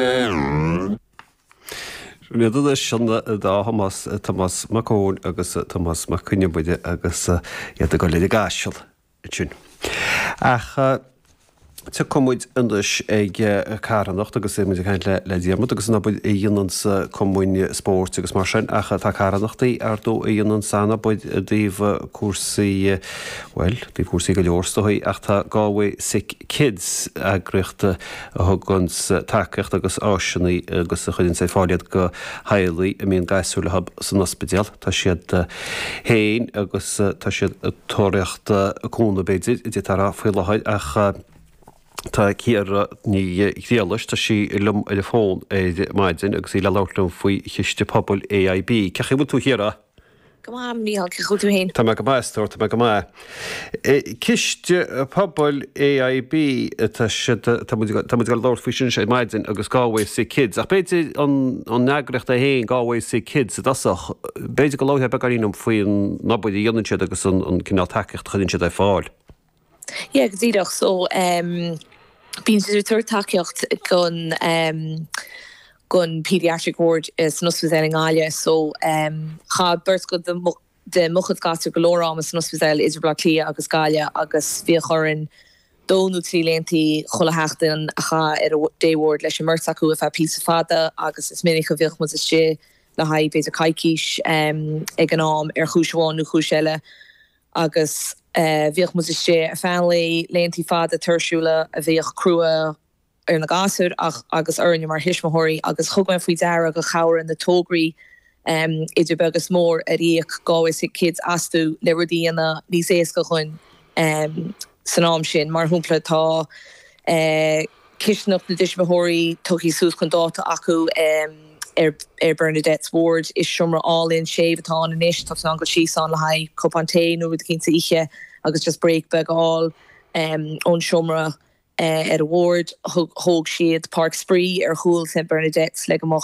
Sin iad anois an dá Thomás, Tomás Mac Eoin agus Tomás Mac Con Iomaire agus iad ag dul ar an gCaiseal ansin. Ach tiocfaidh muid anois ag carthanacht agus muid ag caint le Diarmuid agus an obair a dhéananns cumainn spóirt agus mar sin ach tá carthanachtaí ar ndóigh a dhéananns an-obair i dtaobh cúrsaí, bhuel, i dtaobh cúrsaí go leor is dóigh ach tá Galway Sick Kids, eagraíocht a thuganns tacaíocht agus áiseanna agus a chuireanns ar fáil iad go theaghlaigh a mbíonn gasúir leo san ospidéal. Tá siad féin agus tá siad ag tóraíocht cúnamh b'fhéidir, a d'fhéadfá a rá faoi láthair ach tá Ciara Ní Ghriallais, tá sí liom ar an bhfón ar maidin agus í le labhairt liom faoi Chiste Pobail AIB. Cén chaoi a bhfuil tú a Chiara? Go maith, a Mhícheáil, cén chaoi a bhfuil tú féin? Tá mé go maith, a stór, tá mé go maith. Ciste Pobail AIB, tá siad, tá muid, tá muid ag labhairt faoi sin ar maidin agus Galway Sick Kids, ach b'fhéidir an, an eagraíocht é féin, Galway Sick Kids i dtosach, b'fhéidir go labharfá beagáinín liom faoin obair a dhéanann siad agus an, an cineál tacaíocht a chuireann siad ar fáil. Yeah, go díreach. So, um, bíonn siad ag tabhairt tacaíocht don, um, don paediatric ward san ospidéal i nGaillimh so chaith beirt de mo chuid gasúr go leor ama san ospidéal idir Baile Átha Cliath agus Gaillimh agus bhíodh orainn dó nó trí laethanta chuile sheachtain a chaitheamh ar an day ward leis an mbeirt acu ar feadh píosa fada agus is minic a bhíodh muid istigh le haghaidh b'fhéidir coicís ag an am ar chúis amháin nó chúis eile agus bhíodh muid istigh ar feadh an lae, laethanta fada tuirsiúla a bhíodh crua. ar na gasúir ach agus orainne mar thuismitheoirí agus thug mé faoi deara gur chabhraigh na tograí idir beag is mór ar íoc Galway Sick Kids astu le rudaí a dhéanamh níos éasca dhúinn san am sin. Mar shampla tá cistineach na dtuismitheoirí tugtha suas chun dáta acu ar Bernadette's Ward. Is seomra álainn séimh atá ann anois, tá tú in ann dul síos ann le haghaidh cupán tae nó rud eicínt a ithe agus just break beag a fháil ón seomra. Ar an ward, thóg siad páirc spraoi ar chúl St Bernadette's le go mbeadh.